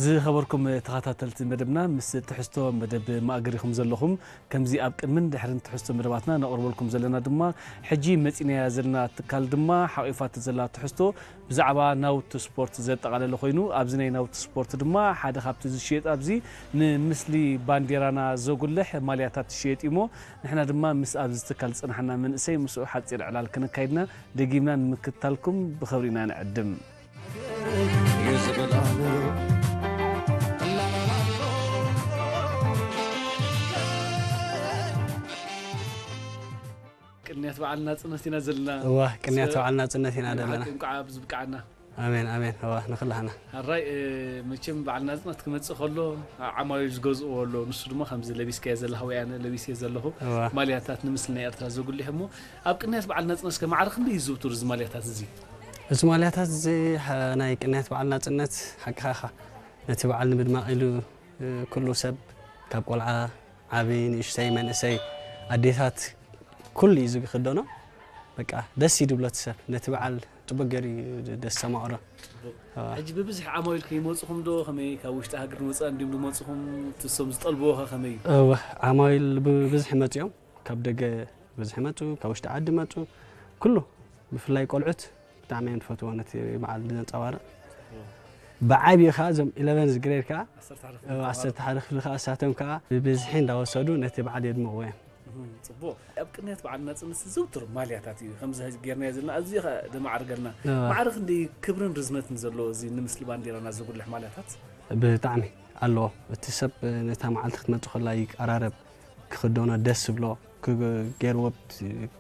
ዝኸበርኩም ተኸታተልቲ መደብና፣ ምስ ትሕዝቶ መደብ ማእገር ኢኹም ዘለኹም። ከምዚ ኣብ ቅድምን ድሕርን ትሕዝቶ መደባትና ነቕርበልኩም ዘለና ድማ፣ ሕጂ መጺናያ ዘለና ትካል ድማ ሓቂፋቶ ዘላ ትሕዝቶ ብዛዕባ ናውቲ ስፖርት ዘጠቓለለ ኮይኑ፣ ኣብዚ ናይ ናውቲ ስፖርት ድማ ሓደ ካብቲ ዝሽየጥ ኣብዚ ንምስሊ ባንዴራና ዘጉልሕ ማልያታት ዝሽየጥ እዩ እሞ፣ ንሕና ድማ ምስ ኣብዚ ትካል ዝጸናሕና መንእሰይ ምስኡ ሓጺር ዕላል ከነካይድና ደጊምና ንምክትታልኩም ብኽብሪ ኢና ንዕድም። ቅንያት በዓል ናጽነት ኢና ዘለና። እዋ፣ ቅንያት በዓል ናጽነት ኢና ዘለና። ብሓቂ እንኳዕ ኣብዚ ብቃዕና። ኣሜን፣ ኣሜን። እዋ፣ ንኹላህና። ሕራይ፣ እ፣ መቸም በዓል ናጽነት ክመጽእ ከሎ፣ ዓ-፣ ዓማዊል ዝገዝእዎ ኣሎ። ንሱ ድማ ከምዚ ለቢስካዮ ዘለኻ ወይ ኣነ ለቢስዮ ዘለኹ እዋ። ማልያታት ንምስሊ ናይ ኤርትራ ዘጉልሕ እሞ፣ ኣብ ቅንያት በዓል ናጽነት እስከ ማዕረ ክንደይ ይዝውተር እዚ ማልያታት እዚ? እዚ ማልያታት እዚ፣ ሓ-፣ ናይ ቅንያት በዓል ናጽነት ሓቅኻ ኢኻ። ነቲ በዓል ንምድማቕ ኢሉ፣ እ፣ ኩሉ ሰብ ካብ ቆልዓ ዓቢ፣ ንእሽተይ፣ መንእሰይ፣ ኣዴታት፣ ኩሉ እዩ ዝክደኖ። በቃ ደስ እዩ ድብሎ እቲ ሰብ። ነቲ በዓል ጽቡቅ ገይሩ እዩ ደስ ዘማቕሮ። ጽቡቅ። ኣዋ። ሕጂ ብብዝሒ ዓማዊል ከይመጹኹም ዶ፣ ከመይ ካብ ውሽጢ ሃገር ንወጻኢ እንድዮም ዝመጹኹም? እቲ እሶም ዝጠልብዎ ኸ ከመይ እዩ? እወ፣ ዓማዊል ብብዝሒ መጽዮም። ካብ ደገ ብብዝሒ መጹ፣ ካብ ውሽጢ ዓዲ መጹ። ኩሉ፣ ብፍላይ ቆልዑት ብጣዕሚ እዮም ዝፈትዎ ነቲ በዓል ዘንጸባርቕ። ብዓብዩ ኸኣ እዞም ኢለቨንዝ ግሬድ ከኣ፣ ዓሰርተ ሓደ ክፍሊ እወ፣ ተማሃሮ። ዓሰርተ ሓደ ክፍሊ ከኣ እሳቶም ከኣ ብብዝሒ እንዳወሰዱ ነቲ በዓል የድምቕዎ እዮም። እህ፣ ጽቡቕ። ኣብ ቅንያት በዓል ናጽነት ዝዝውተር ማልያታት እዩ። ከምዚ ሕጂ ጌርናዮ ዘለና ኣዝዩ ኸኣ ደማዕርገልና። እወ። ማዕረ ክንደይ ክብርን ርዝነትን ዘለዎ እዚ ንምስሊ ባንዴራና ዘጉልሕ ማልያታት? ብጣዕሚ ኣለዎ። እቲ ሰብ ነታ መዓልቲ ክትመጽእ ከላ ይቀራረብ፣ ክኽደኖ ደስ ዝብሎ፣ ክገ-፣ ገይርዎ ኣብቲ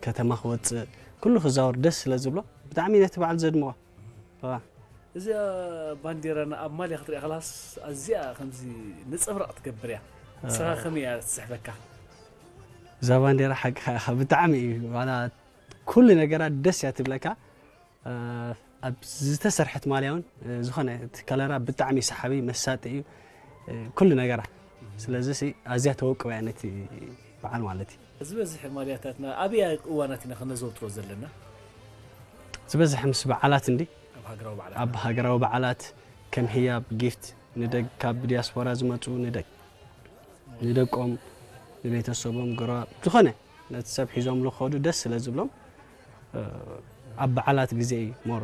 ከተማ ክወጽእ፣ ኩሉ ክዛወር ደስ ስለ ዝብሎ፣ ብጣዕሚ ነቲ በዓል ዘድምቖ። እዋ። እዚኣ ባንዴራና ኣብ ማልያ ክትሪኣ ከላስ ኣዝያ ከምዚ ነጸብራቕ ትገብር እያ። ንስኻ ኣዎ። ከመይ እያ ትስሕበካ? እዛ ባንዴራ ሓቅኻ ኢኻ፣ ብጣዕሚ እዩ። ዋላ ኩሉ ነገራ ደስ እያ ትብለካ። እ፣ ኣብ ዝተሰርሐት ማልያ እውን፣ እ፣ ዝኾነ እቲ ከለራ ብጣዕሚ ሰሓቢ፣ መሳጢ እዩ፣ እ፣ ኩሉ ነገራ። ስለዚ ሲ ኣዝያ ተወቅባ እያ ነቲ በዓል ማለት እዩ። ዝበዝሕ ማልያታትና ኣብያ እዋናት ኢና ከነዘውትሮ ዘለና? ዝበዝሕ ምስ በዓላት እንዲ። ኣብ ሃገራዊ በዓላት። ኣብ ሃገራዊ በዓላት፣ ከም ህያብ፣ ጊፍት፣ ንደግ-፣ ካብ ዲያስፖራ ዝመጹ ንደግ-፣ ንደቆም፣ ንቤተሰቦም፣ ጎረባ-፣ ዝኾነ ነቲ ሰብ ሒዞም ዝኸዱ ደስ ስለ ዝብሎም፣ እ፣ ኣብ በዓላት ግዜ እዩ ሞር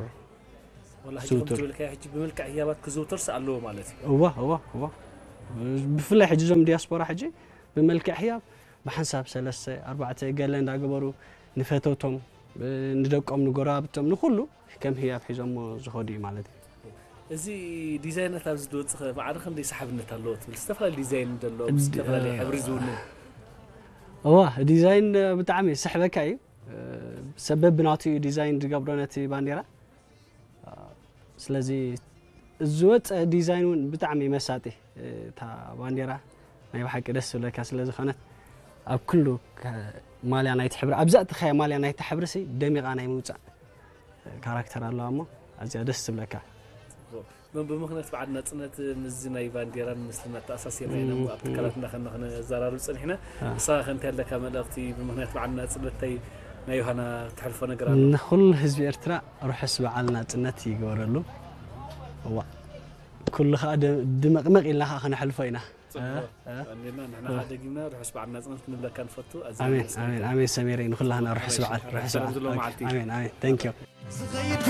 ወላ ሕጂ ከም ዝውቱር። ትብልካዮ ሕጂ ብመልክዕ ህያባት ክዝውተርስ ኣለዎ ማለት እዩ። እዋ፣ እዋ፣ እዋ። ብፍላይ ሕጂ እዞም ዲያስፖራ ሕጂ ብመልክዕ ህያብ ብሓንሳብ ሰለስተ፣ ኣርባዕተ ገለ እንዳገበሩ ንፈተውቶም፣ እ፣ ንደቆም፣ ንጎረባብቶም፣ ንኹሉ ከም ህያብ ሒዞሞ ዝኸዱ እዩ ማለት እዩ። እዚ ዲዛይናት ኣብዚ ዝወጽእ ኸ ማዕረ ክንደይ ሰሓብነት ኣለዎ ትብል? ዝተፈላለዩ ዲዛይን ዘሎ፣ ድ-፣ ዝተፈላለየ ሕብሪ ዝውንን። እዋ፣ ዲዛይን ብጣዕሚ ዝስሕበካ እዩ። እ፣ ሰብ በብናቱ እዩ ዲዛይን ዝገብሮ ነቲ ባንዴራ። ስለዚ ዝወፀ ዲዛይን እውን ብጣዕሚ መሳጢ፣ እታ ባንዴራ ናይ ብሓቂ ደስ ዝብለካ ስለ ዝኾነት፣ ኣብ ኩሉ ከ-፣ ማልያ ናይቲ ሕብሪ፣ ኣብዛ እትኸያ ማልያ ናይቲ ሕብሪ ሲ ደሚቓ ናይ ምውፃእ ካራክተር ኣለዋ እሞ፣ ኣዝያ ደስ ትብለካ። ብ-፣ ብምኽንያት በዓል ናጽነት ምስዚ ናይ ባንዴራን ምስልን ኣተኣሳሲርና ኢና እሞ ኣብ እም፣ ትካላትና ከነ-፣ ከነዘራርብ ጸኒሕና። አ። ንስኻ ከ እንታይ ኣለካ መልእኽቲ ብምኽንያት በዓል ናጽነት፣ እንታይ ናይ ዮሃና ትሕልፎ ነገር ኣሎ? ንኹሉ ህዝቢ ኤርትራ ርሑስ በዓል ናጽነት ይግበረሉ። እዋ፣ ኩሉ ኸኣ ደ-፣ ድመቕመቕ ኢልና ኸኣ ከነሕልፎ ኢና። ጽቡቕ። እ፣ እ። ቀኒልና ንሕና እ። ኸኣ ደጊምና ርሑስ በዓል ናጽነት ክንብለካ ንፈቱ። ኣዝና ኣሜን፣ ነመስግነካ። ኣሜን፣ ኣሜን ሰሜረይ፣ ንኹላህና ርሑስ በዓል፣ ርሑስ ሰላም በዓል። ዘለዎ ኦኬ፣ መዓልቲ። ኣሜን፣ ኣሜን። Thank you። ዝኸይድ